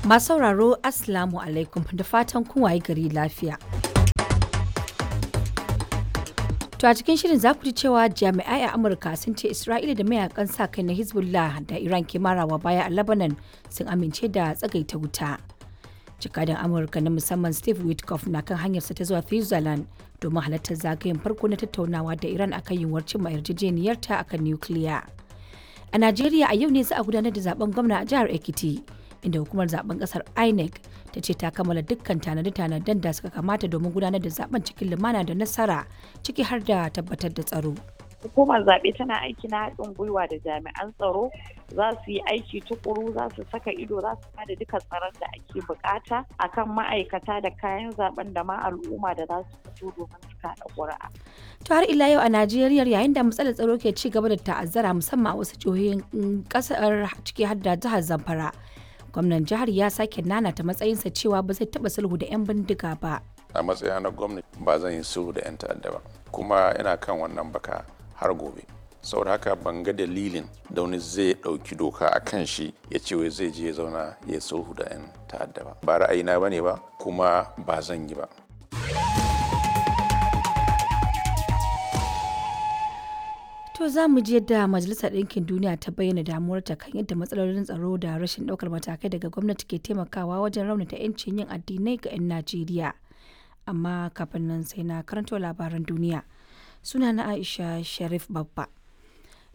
Masu sauraro, Assalamu alaikum, da fatan kun waye gari lafiya. To a cikin shirin za ku ji cewa jami'ai a Amurka sun ce Isra'ila da mayakan sa kai na Hezbollah da Iran ke marawa baya a Lebanon sun amince da tsagaita wuta. Jakadan Amurka na musamman Steve Witkoff na kan hanyarsa ta zuwa Switzerland domin halartar zagayen farko na tattaunawa da Iran akan yiwuwar cimma yarjejeniyarta akan nukiliya. A Najeriya, a yau ne za a gudanar da zaben gwamna a jihar Ekiti, inda hukumar zaben kasar INEC ta ce ta kammala dukkan tanade-tanaden da suka kamata domin gudanar da zaben cikin lumana da nasara, ciki har da tabbatar da tsaro. Hukumar zaɓe tana aiki na haɗin gwiwa da jami'an tsaro, za su yi aiki tukuru, za su saka ido, za su bada duka tsaron da ake bukata akan ma'aikata da kayan zaben da ma al'umma da za su fito domin su kaɗa ƙuri'a. To har ila yau a Najeriya, yayin da matsalar tsaro ke ci gaba da ta'azzara musamman a wasu jihohin kasar, ciki har da jihar Zamfara, gwamnan jihar ya sake nanata matsayinsa cewa ba zai taɓa sulhu da 'yan bindiga ba. A matsayina na gwamnati, ba zan yi sulhu da 'yan ta'adda ba, kuma ina kan wannan baka har gobe. Saboda haka ban ga dalilin da wani zai ɗauki doka a kan shi ya ce wai zai je ya zauna ya sulhu da 'yan ta'adda ba. Ba ra'ayina ba ne ba, kuma ba zan yi ba. To za mu ji yadda Majalisar Ɗinkin Duniya ta bayyana damuwarta kan yadda matsalolin tsaro da rashin ɗaukar matakai daga gwamnati ke taimakawa wajen raunata 'yancin yin addinai ga 'yan Najeriya. Amma kafin nan sai na karanto labaran duniya. Suna na Aisha Sharif Babba.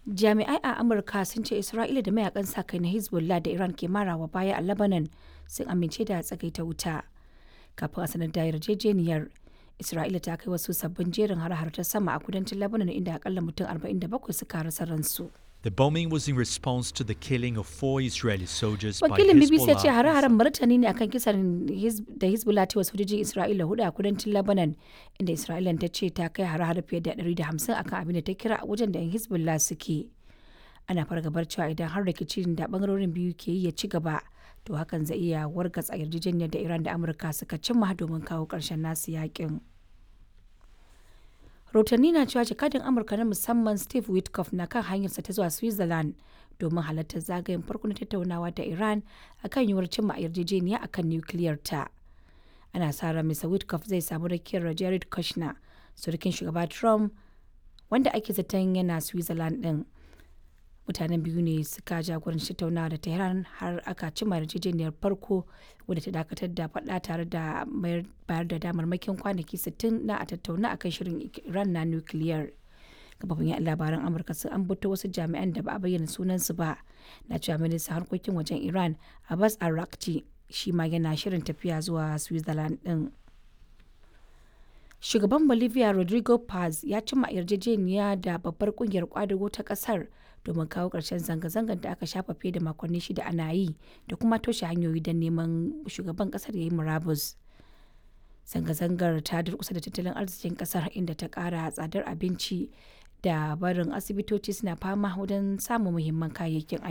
Jami'ai a Amurka sun ce Isra'ila da mayakan sa kai na Hezbollah da Iran ke marawa baya a Lebanon sun amince da tsagaita wuta. Kafin a sanar da yarjejeniyar, Isra'ila ta kai wasu sabbin jerin har-har ta sama a kudancin Lebanon, inda akalla mutum 47 suka rasa ransu. The bombing was in response to the killing of four Israeli soldiers by Wakilin BBC ya ce Hezbollah. hare-haren martani ne akan kisan da Hezbollah ta yi wa sojojin Isra'ila hudu a kudancin Lebanon, inda Isra'ila ta ce ta kai hare-hare fiye da 150 akan abin da ta kira a wajen da 'yan Hezbollah suke. Ana fargabar cewa idan har rikicin da bangarorin biyu ke yi ya ci gaba, to hakan zai iya wargatsa yarjejeniyar da Iran da Amurka suka cimma domin kawo ƙarshen nasu yakin. Rahotanni na cewa jakadin Amurka na musamman Steve Witkoff na kan hanyarsa ta zuwa Switzerland domin halartar zagayen farko na tattaunawa da Iran akan yiwuwar cimma yarjejeniya akan nukiliyar ta. Ana sa ran Mr Witkoff zai samu rakiyar Jared Kushner, surukin shugaba Trump, wanda ake zaton yana Switzerland din. Mutanen biyu ne suka jagoranci tattaunawa da Tehran har aka cimma yarjejeniyar farko, wadda ta dakatar da faɗa tare da bayar da damarmakin kwanaki 60 na a tattauna akan shirin Iran na nukiliyar. Kafofin yaɗa labaran Amurka sun ambato wasu jami'an da ba a bayyana sunansu ba na cewa ministan harkokin wajen Iran Abbas Araghchi shi ma yana shirin tafiya zuwa Switzerland din. Shugaban Bolivia Rodrigo Paz ya cimma yarjejeniya da babbar kungiyar kwadago ta kasar domin kawo ƙarshen zanga-zangar da aka shafa fiye da makonni 6 ana yi da kuma toshe hanyoyi don neman shugaban kasar ya yi murabus. Zanga-zangar ta durkusa da tattalin arzikin kasar, inda ta ƙara tsadar abinci da barin asibitoci suna fama wajen samun muhimman kayayyakin aiki.